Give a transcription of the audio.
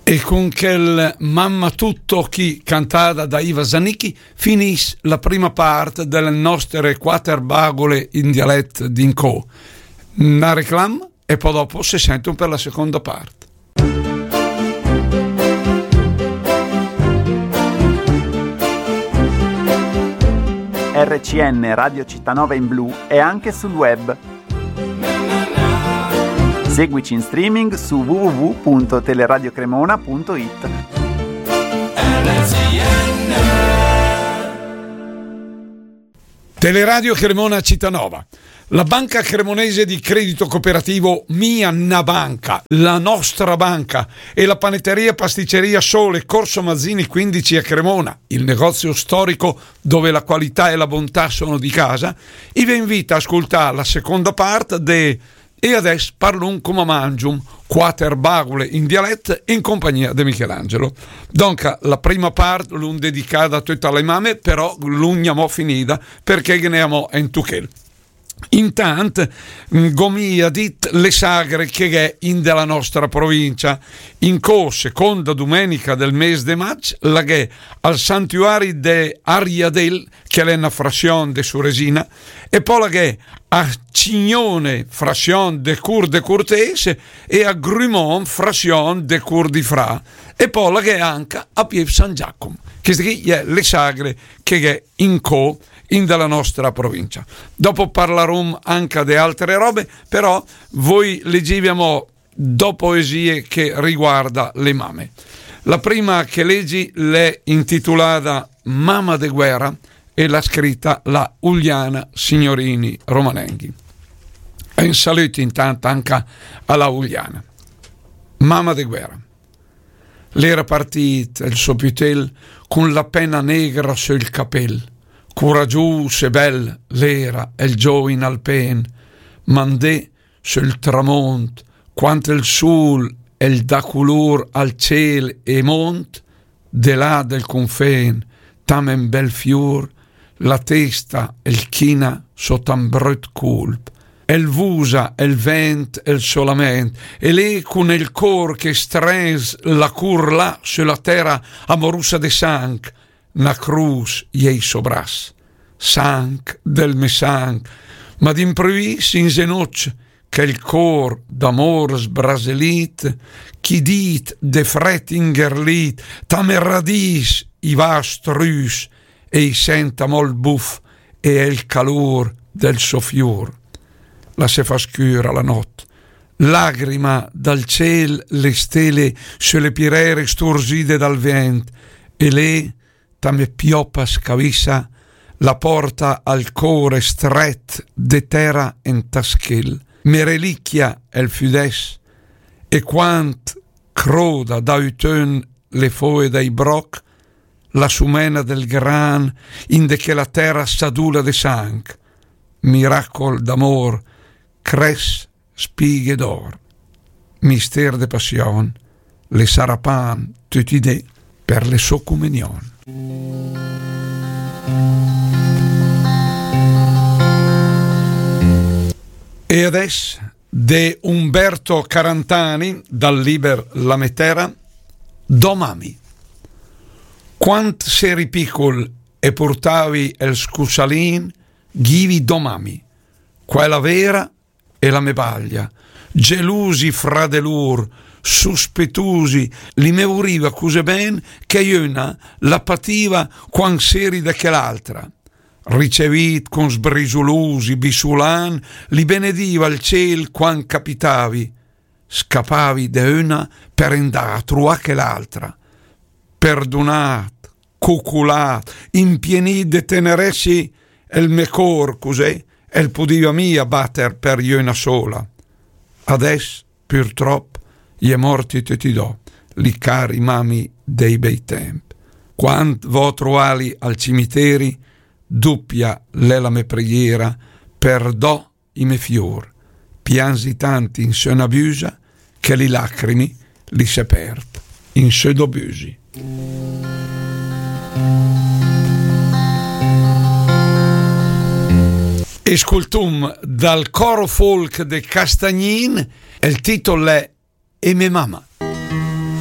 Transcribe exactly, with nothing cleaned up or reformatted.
E con quel Mamma tutto chì, cantada da Iva Zanicchi, finìs la prima part de le nostre quater bagole in dialet d'incò. Na reclam e po dopo se senton per la seconda part. R C N Radio Città Nova in blu è anche sul web. Seguici in streaming su w w w punto teleradiokremona punto it. Teleradio Cremona Città Nova. La Banca Cremonese di Credito Cooperativo, mia na banca, la nostra banca, e la panetteria pasticceria Sole, Corso Mazzini quindici a Cremona, il negozio storico dove la qualità e la bontà sono di casa, i ve invita a ascoltare la seconda parte de E adès parlum coma mangium, quater bagule in dialet in compagnia de Michelangelo. Donca, la prima part l'um dedicada töta a le mame, però l'um gnamò finida, perché ghe n'è amò en tuchel. Intant, mm, g'ho mia dit le sagre che gh'è in de la nostra provincia. Incò, seconda dumenica del mes de maig, la gh'è al santuari de Ariadel, che l'è na frasion de Suresina, e po la gh'è a Cignone, frasion de Cur de Curtes, e a Grumon, frasion de Cur di Fra, e po la gh'è anca a Piev San Giacom. Cheste chì è le sagre che gh'è incò in de la nostra provincia. Dopo parlarum anca de altre robe, però voi legivi amò do poesie che riguarda le mame. La prima che legi l'è intitulada Mama de guerra e l'ha scritta la Uliana Signorini Romanenghi. E un saluto intanto anca a la Uliana. Mama de guerra. L'era partit el so pütel cun la pena negra söl capel. Curagius e bel l'era el giovin alpen, ma 'ndé söl tramont, quand el sul el dà culur al ciel e mont, de là del cunfen, tam en bel fiur, la testa el china sota un brut culp. El vusa, el vent, el solament, e lé cun el cor che strens la cur là söla tera amorusa de sanc, na crus i è i so bras. Sanc del me sanc, ma d'impruvìs in zenoc, chel cor d'amor sbraselit, chi dit de fret ingherlit, tam e radis i va a strus e i sent amò el buf e el calur del so fiur. La se fa scüra la not, lagrima dal ciel le stele söle pirere sturzide dal vent, e lé tam e piopa scavissa, la porta al core stret de tera en taschel. Me reliquia el füdess, e quand croda da ütöl le foe dai broc, la sumena del gran in de chela tera sadula de sanc, miracol d'amor, cres spighe d'or, mister de passion, le sarà pan töt i dé per le so cumenion. E adess de Umberto Carantani dal liber La me tera, Do mami. Quand seri picul e purtavi el scusalin, g'ivi do mami, quela vera e la me baglia, gelusi fra de lur, suspetusi, li me vuriva cusé ben che jöna la pativa quand seri de quel'altra. Ricevit con sbrisulusi, bisulan, li benediva al ciel quand capitavi, scapavi de öna per endà a truà quel'altra. Perdunat, cuculat, impienit de teneresi, el me cor cusé el pudiva mia bater per jöna sola. Adess, purtrop, i è morti töt i do, li cari mami dei bei temp. Quand vo a truali al cimiteri, dupia l'è la me preghiera per do i me fiur, pianzi tant in sö na büsa che li lacrimi li se perd in sö do büsi. Escultum dal coro folk de Castagnin, el titol è E me mama.